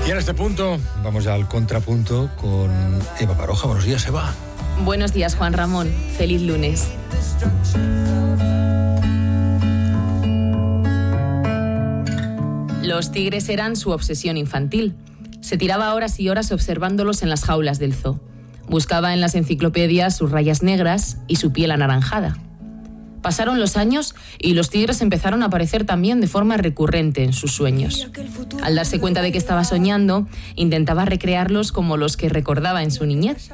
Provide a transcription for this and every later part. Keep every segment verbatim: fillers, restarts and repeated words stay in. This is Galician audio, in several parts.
Y en este punto vamos ya al contrapunto con Eva Baroja. Buenos días, Eva. Buenos días, Juan Ramón. Feliz lunes. Los tigres eran su obsesión infantil. Se tiraba horas y horas observándolos en las jaulas del zoo. Buscaba en las enciclopedias sus rayas negras y su piel anaranjada. Pasaron los años y los tigres empezaron a aparecer también de forma recurrente en sus sueños. Al darse cuenta de que estaba soñando, intentaba recrearlos como los que recordaba en su niñez.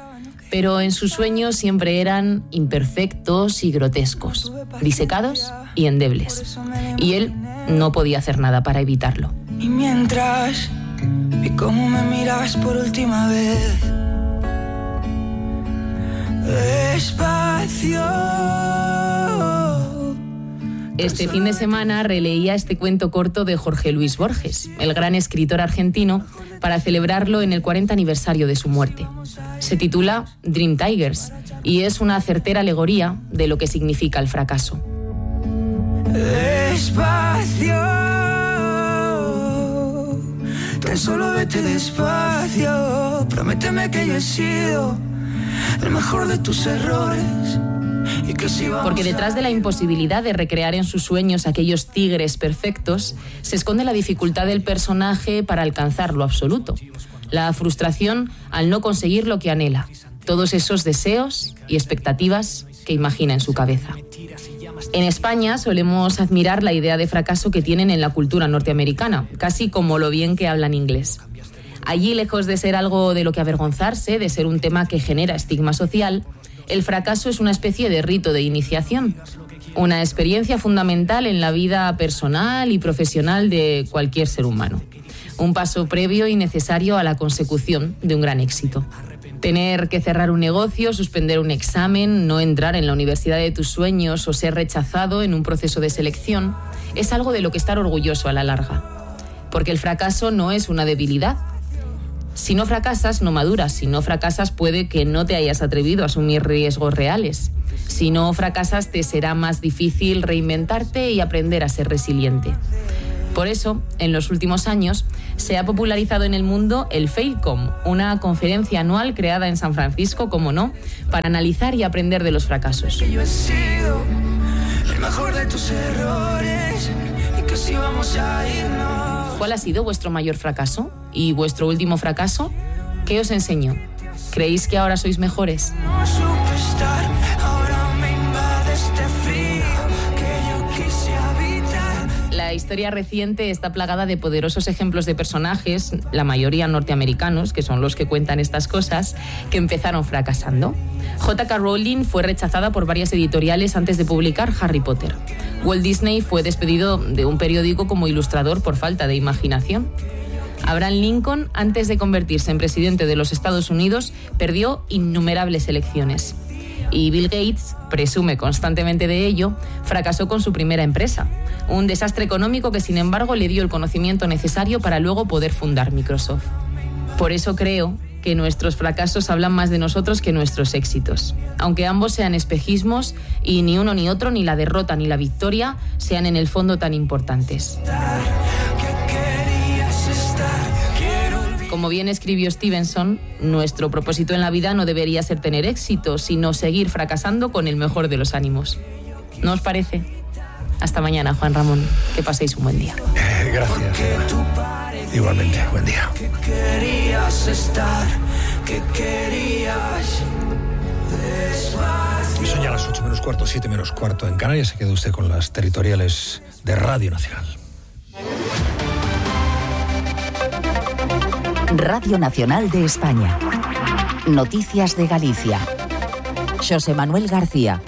Pero en sus sueños siempre eran imperfectos y grotescos, disecados y endebles. Y él no podía hacer nada para evitarlo. Y mientras vi cómo me mirabas por última vez, despacio. Este fin de semana releía este cuento corto de Jorge Luis Borges, el gran escritor argentino, para celebrarlo en el cuarenta aniversario de su muerte. Se titula Dream Tigers y es una certera alegoría de lo que significa el fracaso. Despacio, tan solo vete despacio, prométeme que yo he sido el mejor de tus errores. Porque detrás de la imposibilidad de recrear en sus sueños aquellos tigres perfectos, se esconde la dificultad del personaje para alcanzar lo absoluto. La frustración al no conseguir lo que anhela. Todos esos deseos y expectativas que imagina en su cabeza. En España solemos admirar la idea de fracaso que tienen en la cultura norteamericana, casi como lo bien que hablan inglés. Allí, lejos de ser algo de lo que avergonzarse, de ser un tema que genera estigma social, el fracaso es una especie de rito de iniciación, una experiencia fundamental en la vida personal y profesional de cualquier ser humano. Un paso previo y necesario a la consecución de un gran éxito. Tener que cerrar un negocio, suspender un examen, no entrar en la universidad de tus sueños o ser rechazado en un proceso de selección es algo de lo que estar orgulloso a la larga. Porque el fracaso no es una debilidad. Si no fracasas, no maduras. Si no fracasas, puede que no te hayas atrevido a asumir riesgos reales. Si no fracasas, te será más difícil reinventarte y aprender a ser resiliente. Por eso, en los últimos años, se ha popularizado en el mundo el Failcom, una conferencia anual creada en San Francisco, como no, para analizar y aprender de los fracasos. Que yo he sido el mejor de tus errores y que si vamos a irnos. ¿Cuál ha sido vuestro mayor fracaso? ¿Y vuestro último fracaso? ¿Qué os enseñó? ¿Creéis que ahora sois mejores? No supe estar, ahora me invade este frío que yo quise habitar. La historia reciente está plagada de poderosos ejemplos de personajes, la mayoría norteamericanos, que son los que cuentan estas cosas, que empezaron fracasando. J K Rowling fue rechazada por varias editoriales antes de publicar Harry Potter. Walt Disney fue despedido de un periódico como ilustrador por falta de imaginación. Abraham Lincoln, antes de convertirse en presidente de los Estados Unidos, perdió innumerables elecciones. Y Bill Gates, presume constantemente de ello, fracasó con su primera empresa. Un desastre económico que, sin embargo, le dio el conocimiento necesario para luego poder fundar Microsoft. Por eso creo que nuestros fracasos hablan más de nosotros que nuestros éxitos. Aunque ambos sean espejismos y ni uno ni otro, ni la derrota ni la victoria, sean en el fondo tan importantes. Como bien escribió Stevenson, nuestro propósito en la vida no debería ser tener éxito, sino seguir fracasando con el mejor de los ánimos. ¿No os parece? Hasta mañana, Juan Ramón. Que paséis un buen día. Eh, gracias. Igualmente, buen día. Que querías estar, que querías despacio. Son ya las ocho menos cuarto, siete menos cuarto en Canarias. Se queda usted con las territoriales de Radio Nacional. Radio Nacional de España. Noticias de Galicia. Xosé Manuel García.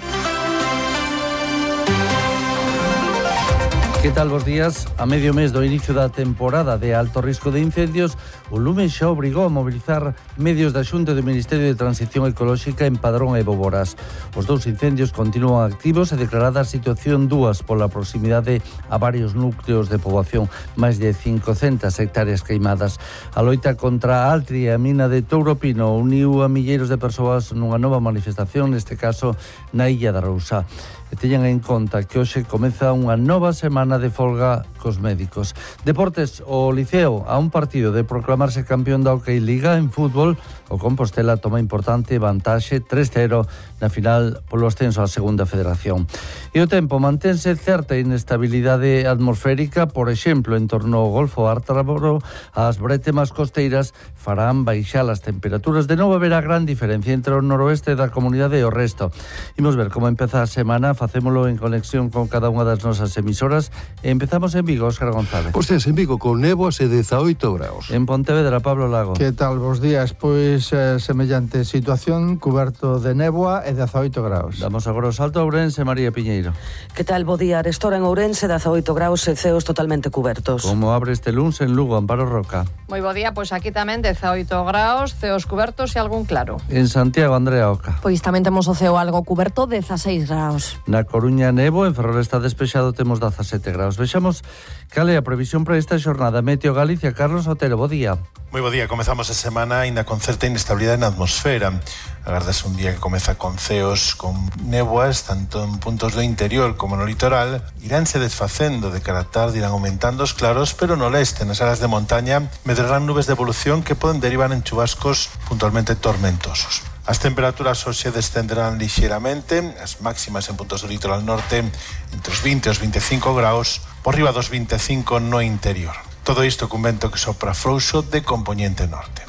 Que tal, bos días? A medio mes do inicio da temporada de alto risco de incendios, o lume xa obrigou a mobilizar medios da Xunta do Ministerio de Transición Ecolóxica en Padrón e Boborás. Os dous incendios continúan activos e declarada a situación dúas pola proximidade a varios núcleos de poboación, máis de cincocentas hectáreas queimadas. A loita contra a Altri e a mina de Touro Pino uniu a milleiros de persoas nunha nova manifestación, neste caso na Illa da Rousá. e teñan en conta que hoxe comeza unha nova semana de folga cos médicos. Deportes, o Liceo a un partido de proclamarse campeón da Hockey Liga en fútbol, o Compostela toma importante vantaxe tres cero na final polo ascenso á segunda federación. E o tempo mantense certa inestabilidade atmosférica, por exemplo, en torno ao Golfo Ártabro, as brétemas costeiras farán baixar as temperaturas. De novo haberá gran diferencia entre o noroeste da comunidade e o resto. Imos ver como empeza a semana, facémolo en conexión con cada unha das nosas emisoras e empezamos en Vigo, Óscar González. Pois pues en Vigo con néboas e dezaoito graus. En Pontevedra, Pablo Lago. Que tal, bos días? Pois eh, semellante situación, cuberto de néboa e dezaoito graus. Damos agora o salto a Ourense, María Piñeiro. Que tal, bo día? Arestora en Ourense, dezaoito graus e ceos totalmente cubertos. Como abre este luns en Lugo, Amparo Roca? Moi bo día, pois aquí tamén dezaoito graus, ceos cubertos e algún claro. En Santiago, Andrea Oca? Pois tamén temos o ceo algo cuberto, dezaseis graus. Na Coruña, nevo, en Ferrol está despexado, temos dezasete graus. Vexamos cal é a previsión para esta xornada. Meteo Galicia, Carlos Otero, bo día. Moi bo día, comezamos a semana aínda con certa inestabilidade na atmosfera. Agardas un día que comeza con ceos, con néboas, tanto en puntos do interior como no litoral. Iránse desfacendo de cara a tarde, irán aumentando os claros, pero no leste, nas áreas de montaña, medrarán nubes de evolución que poden derivar en chubascos puntualmente tormentosos. As temperaturas hoxe descenderán lixeiramente, as máximas en puntos do litoral norte entre os vinte e os veinticinco graus, por riba dos veinticinco no interior. Todo isto cun vento que sopra frouxo de compoñente norte.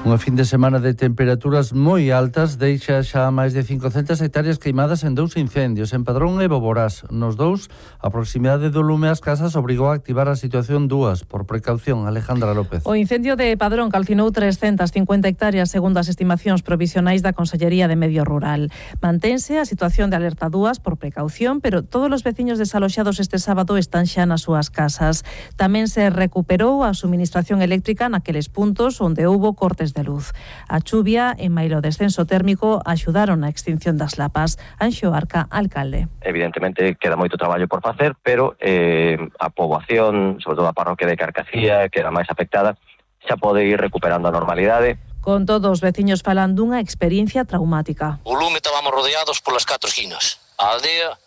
Unha fin de semana de temperaturas moi altas deixa xa máis de cincocentas hectáreas queimadas en dous incendios, en Padrón e Boborás. Nos dous, a proximidade do lume ás casas obrigou a activar a situación dúas, por precaución. Alejandra López. O incendio de Padrón calcinou trescentas cincuenta hectáreas segundo as estimacións provisionais da Consellería de Medio Rural. Mantense a situación de alerta dúas por precaución, pero todos os veciños desaloxados este sábado están xa nas súas casas. Tamén se recuperou a suministración eléctrica naqueles puntos onde houbo cortes de luz. A chuvia e mailo descenso térmico axudaron a extinción das lapas. Anxo Arca, alcalde. Evidentemente queda moito traballo por facer, pero eh, a poboación, sobre todo a parroquia de Carcacía, que era máis afectada, xa pode ir recuperando a normalidade. Con todos os veciños falan dunha experiencia traumática. O lume estábamos rodeados polas catro esquinas. A aldea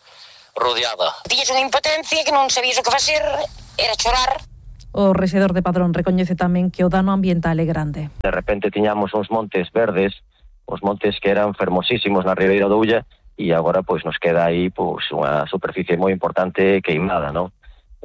rodeada. Tiñes unha impotencia que non sabías o que facer, era chorar. O rexedor de Padrón recoñece tamén que o dano ambiental é grande. De repente tiñamos uns montes verdes, os montes que eran fermosísimos na Ribeira do Ulla, e agora pois nos queda aí pois unha superficie moi importante queimada, non?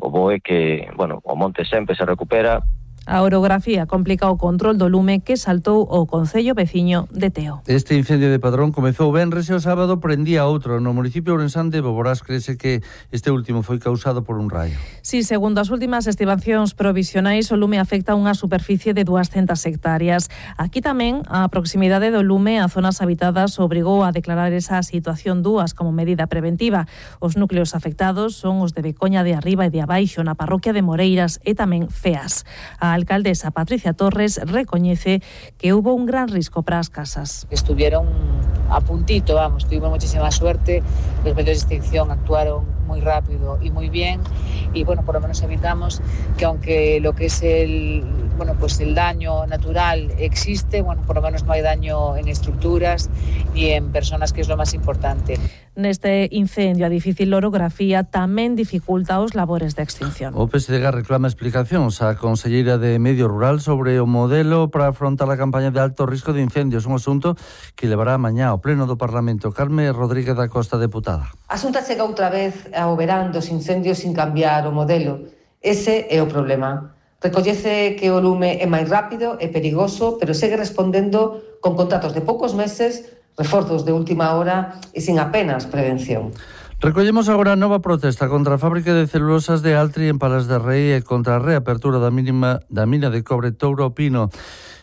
O bo é que, bueno, o monte sempre se recupera. A orografía complica o control do lume que saltou o concello veciño de Teo. Este incendio de Padrón comezou venres e o sábado prendía outro. No municipio ourensán de Boborás crese que este último foi causado por un raio. Si, sí, segundo as últimas estimacións provisionais, o lume afecta unha superficie de duascentas hectáreas. Aquí tamén a proximidade do lume a zonas habitadas obrigou a declarar esa situación dúas como medida preventiva. Os núcleos afectados son os de Becoña de Arriba e de Abaixo, na parroquia de Moreiras e tamén Feas. A alcaldesa Patricia Torres recoñece que hubo un gran risco para as casas. Estuvieron a puntito, vamos, tuvimos muchísima suerte, los medios de extinción actuaron muy rápido y muy bien y bueno, por lo menos evitamos que aunque lo que es el, bueno, pues el daño natural existe, bueno, por lo menos no hay daño en estructuras ni en personas, que es lo más importante. Neste incendio a difícil orografía tamén dificulta os labores de extinción. O P S D G reclama explicacións á conselleira de Medio Rural sobre o modelo para afrontar a campaña de alto risco de incendios, un asunto que levará mañá ao Pleno do Parlamento. Carme Rodríguez da Costa, deputada. A Xunta chega outra vez ao verán dos incendios sin cambiar o modelo. Ese é o problema. Recollece que o lume é máis rápido e perigoso, pero segue respondendo con contratos de poucos meses, reforzos de última hora e sin apenas prevención. Recollemos agora a nova protesta contra a fábrica de celulosas de Altri en Palas de Rei e contra a reapertura da, mínima, da mina de cobre Touro Pino.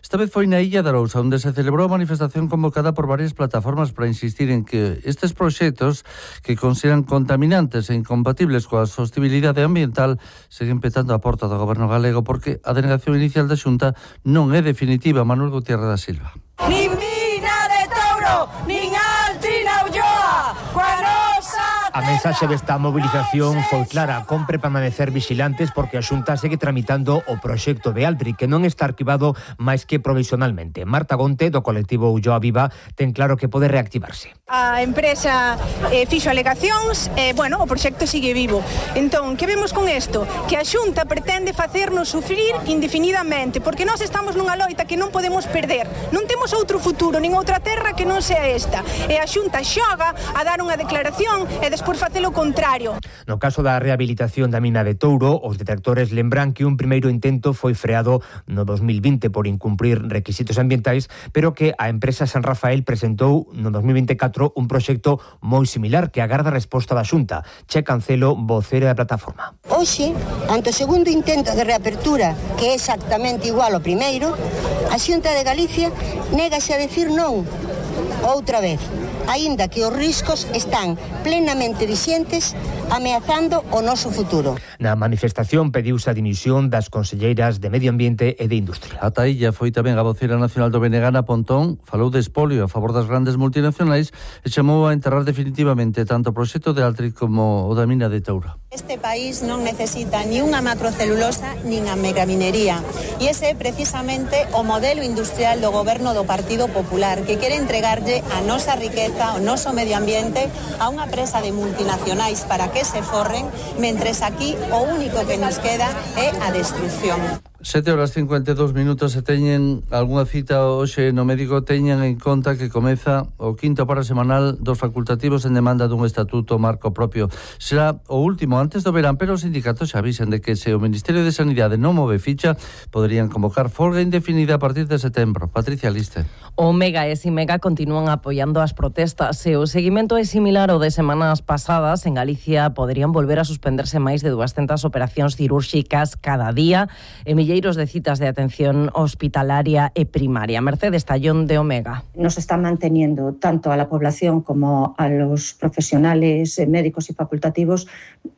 Esta vez foi na Illa de Arousa, onde se celebrou a manifestación convocada por varias plataformas para insistir en que estes proxectos, que consideran contaminantes e incompatibles coa sostenibilidade ambiental, seguen petando a porta do goberno galego porque a denegación inicial da Xunta non é definitiva. Manuel Gutiérrez da Silva. Nin mina de Touro, nin Altri na Ulloa, coa nosa A mensaxe desta mobilización foi clara: compre permanecer vigilantes porque a Xunta segue tramitando o proxecto de Altri, que non está arquivado máis que provisionalmente. Marta Gonte, do colectivo Ulloa Viva, ten claro que pode reactivarse. A empresa eh, fixo alegacións, e, eh, bueno, o proxecto sigue vivo. Entón, que vemos con isto? Que a Xunta pretende facernos sufrir indefinidamente, porque nós estamos nunha loita que non podemos perder. Non temos outro futuro, nin outra terra que non sea esta. E a Xunta xoga a dar unha declaración e despois por facer o contrario. No caso da rehabilitación da mina de Touro, os detectores lembran que un primeiro intento foi freado no dos mil vinte por incumprir requisitos ambientais, pero que a empresa San Rafael presentou no dos mil vinte e catro un proxecto moi similar que agarda a resposta da Xunta. Che Cancelo, vocera da plataforma. Hoxe, ante o segundo intento de reapertura, que é exactamente igual ao primeiro, a Xunta de Galicia négase a decir non outra vez, aínda que os riscos están plenamente vixentes, ameazando o noso futuro. Na manifestación pediuse a dimisión das conselleiras de Medio Ambiente e de Industria. Ata illa foi tamén a vocera nacional do B N G, Ana Pontón, falou de espolio a favor das grandes multinacionais e chamou a enterrar definitivamente tanto o proxecto de Altri como o da mina de Touro. Este país non necesita ni unha macrocelulosa nin a megaminería, e ese é precisamente o modelo industrial do goberno do Partido Popular, que quere entregarlle a nosa riqueza, o noso medio ambiente a unha presa de multinacionais para que se forren, mentres aquí o único que nos queda é a destrucción. sete horas cincuenta e dous minutos. Se teñen algunha cita hoxe no médico, teñan en conta que comeza o quinto paro semanal dos facultativos en demanda dun estatuto marco propio. Será o último antes do verán, pero os sindicatos xa avisen de que se o Ministerio de Sanidade non move ficha, poderían convocar folga indefinida a partir de setembro. Patricia Liste. O Mega e Simega continúan apoiando as protestas e o seguimento é similar ao de semanas pasadas. En Galicia poderían volver a suspenderse máis de duascentas operacións cirúrxicas cada día e milleiros de citas de atención hospitalaria e primaria. Mercedes Tallón, de Omega. Nos está manteniendo tanto a la población como a los profesionales médicos y facultativos,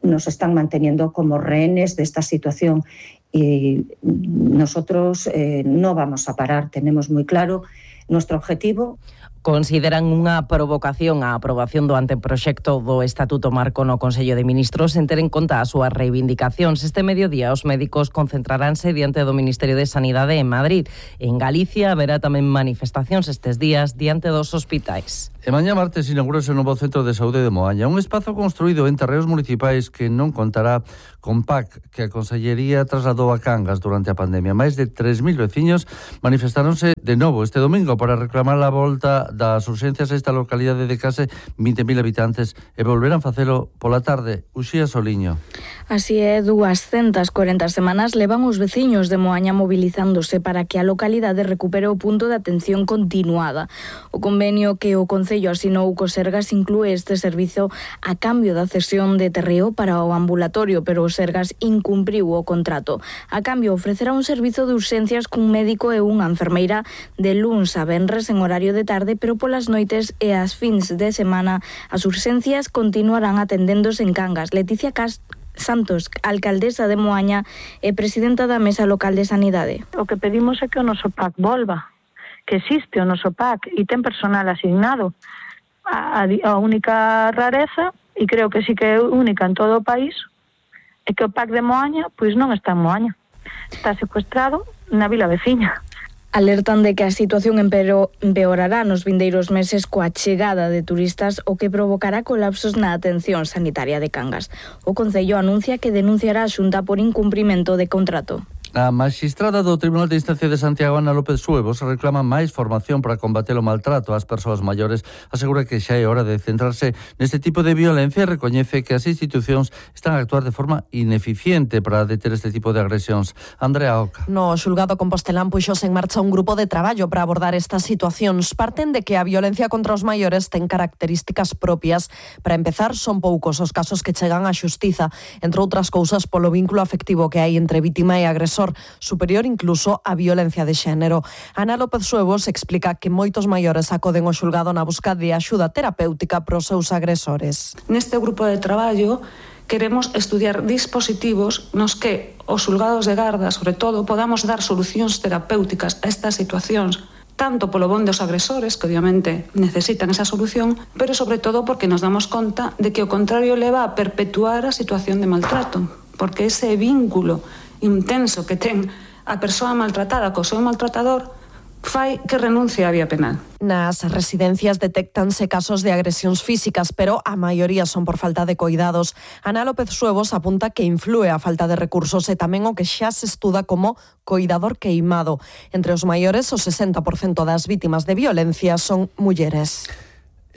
nos están manteniendo como rehenes de esta situación y nosotros eh, no vamos a parar. Tenemos muy claro nuestro objetivo. Consideran unha provocación a aprobación do anteproxecto do Estatuto Marco no Consello de Ministros en ter en conta as súas reivindicacións. Este mediodía os médicos concentraránse diante do Ministerio de Sanidade en Madrid. En Galicia haberá tamén manifestacións estes días diante dos hospitais. E mañá martes inaugurase o novo Centro de Saúde de Moaña, un espazo construído en terreos municipais que non contará con P A C, que a Consellería trasladou a Cangas durante a pandemia. Máis de tres mil veciños manifestaronse de novo este domingo para reclamar a volta das urxencias a esta localidade de case vinte mil habitantes e volverán facelo pola tarde. Uxía Soliño. Así é, duascentas corenta semanas levan os veciños de Moaña mobilizándose para que a localidade recupere o punto de atención continuada. O convenio que o Concello asinou co Sergas inclúe este servizo a cambio da cesión de terreo para o ambulatorio, pero o Sergas incumpriu o contrato. A cambio ofrecerá un servizo de urxencias cun médico e unha enfermeira de luns a venres en horario de tarde, pero polas noites e as fins de semana as urxencias continuarán atendéndose en Cangas. Leticia Cast Santos, alcaldesa de Moaña e presidenta da Mesa Local de Sanidade. O que pedimos é que o noso P A C volva, que existe o noso P A C e ten personal asignado. A, a única rareza, e creo que sí que é única en todo o país, é que o P A C de Moaña pois non está en Moaña. Está secuestrado na vila veciña. Alertan de que a situación empeorará nos vindeiros meses coa chegada de turistas, o que provocará colapsos na atención sanitaria de Cangas. O Concello anuncia que denunciará a Xunta por incumprimento de contrato. A magistrada do Tribunal de Instancia de Santiago, Ana López Suevos, reclama máis formación para combater o maltrato ás persoas maiores. Asegura que xa é hora de centrarse neste tipo de violencia e recoñece que as institucións están a actuar de forma ineficiente para deter este tipo de agresións. Andrea Oca. No xulgado compostelán puxose en marcha un grupo de traballo para abordar estas situacións. Parten de que a violencia contra os maiores ten características propias. Para empezar, son poucos os casos que chegan á xustiza, entre outras cousas polo vínculo afectivo que hai entre vítima e agresor, superior incluso a violencia de xénero. Ana López Suevos explica que moitos maiores acoden ao xulgado na busca de axuda terapéutica pros seus agresores. Neste grupo de traballo queremos estudiar dispositivos nos que os xulgados de garda, sobre todo, podamos dar solucións terapéuticas a estas situacións tanto polo bon dos agresores, que obviamente necesitan esa solución, pero sobre todo porque nos damos conta de que o contrario leva a perpetuar a situación de maltrato, porque ese vínculo intenso que ten a persoa maltratada co seu maltratador fai que renuncie á vía penal. Nas residencias detéctanse casos de agresións físicas, pero a maioría son por falta de coidados. Ana López Suevos apunta que inflúe a falta de recursos e tamén o que xa se estuda como coidador queimado. Entre os maiores, o sesenta por cento das vítimas de violencia son mulleres.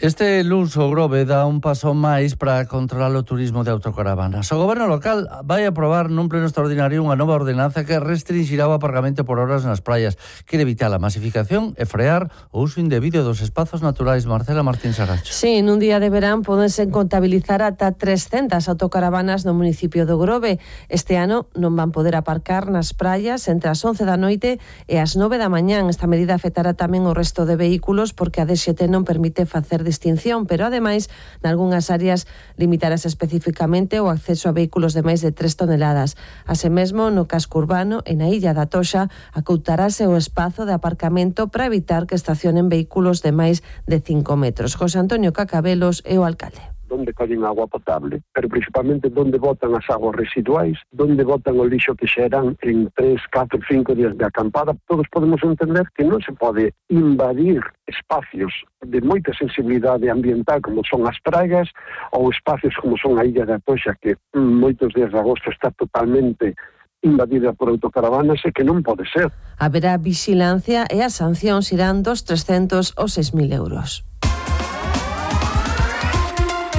Este luns o Grove dá un paso máis para controlar o turismo de autocaravanas. O goberno local vai aprobar nun pleno extraordinario unha nova ordenanza que restringirá o aparcamento por horas nas praias. Quere evitar a masificación e frear o uso indebido dos espazos naturais. Marcela Martín Saracho. Sí, nun día de verán podense contabilizar ata trescentas autocaravanas no municipio do Grove. Este ano non van poder aparcar nas praias entre as once da noite e as nove da mañán. Esta medida afectará tamén o resto de vehículos porque a D X T non permite facer distinción, pero ademais, nalgúnas áreas limitarase especificamente o acceso a vehículos de máis de tres toneladas. Así mesmo, no casco urbano e na illa da Toxa, acoutarase o espazo de aparcamento para evitar que estacionen vehículos de máis de cinco metros. José Antonio Cacabelos é o alcalde. Donde collen agua potable, pero principalmente donde botan as aguas residuais, donde botan o lixo que xeran en tres, catro, cinco días de acampada. Todos podemos entender que non se pode invadir espacios de moita sensibilidade ambiental como son as praias ou espacios como son a illa da Toxa, que moitos días de agosto está totalmente invadida por autocaravanas e que non pode ser. Haberá vigilancia e as sancións irán dos trescentos aos seis mil euros.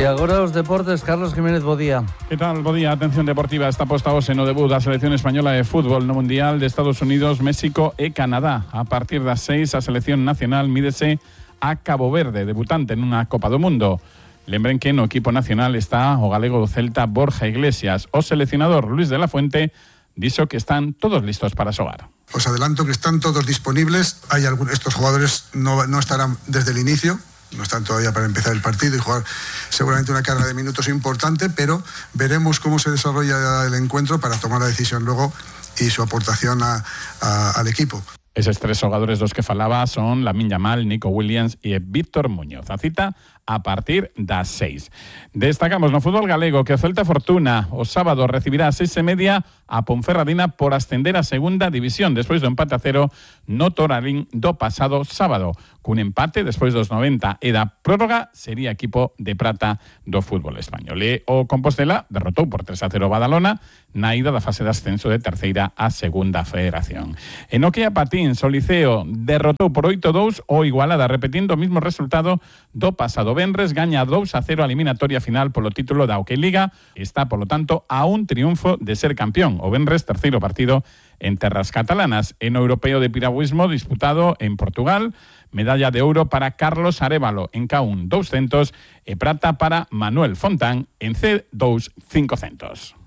E agora os deportes, Carlos Jiménez, bo día. Que tal, bo día? Atención deportiva, está posta hoxe no debut da selección española de fútbol no Mundial de Estados Unidos, México e Canadá. A partir das seis, a selección nacional mídese a Cabo Verde, debutante nunha Copa do Mundo. Lembren que no equipo nacional está o galego do Celta Borja Iglesias. O seleccionador Luis de la Fuente dixo que están todos listos para xogar. Os adelanto que están todos disponibles. Hay algunos, estos jugadores no, no estarán desde el inicio. No están todavía para empezar el partido y jugar seguramente una carga de minutos importante, pero veremos cómo se desarrolla el encuentro para tomar la decisión luego y su aportación a, a, al equipo. Eses tres xogadores dos que falaba son Lamine Yamal, Nico Williams e Víctor Muñoz. A cita a partir das seis. Destacamos no fútbol galego que o Celta Fortuna o sábado recibirá a seis e media a Ponferradina por ascender a segunda división despois do empate a cero no Toralín do pasado sábado. Cun empate despois dos noventa e da prórroga sería equipo de prata do fútbol español. E o Compostela derrotou por tres a cero Badalona na ida da fase de ascenso de terceira a segunda federación. En o que a Patín, o Liceo derrotou por oito a dous o Igualada, repetindo o mismo resultado do pasado venres, gaña dous a cero a eliminatoria final polo título da Hockey Liga. Está, polo tanto, a un triunfo de ser campeón. O venres, terceiro partido en terras catalanas. En o europeo de piragüismo disputado en Portugal, medalla de ouro para Carlos Arévalo en K un doscientos e prata para Manuel Fontán en C dos cincocentos.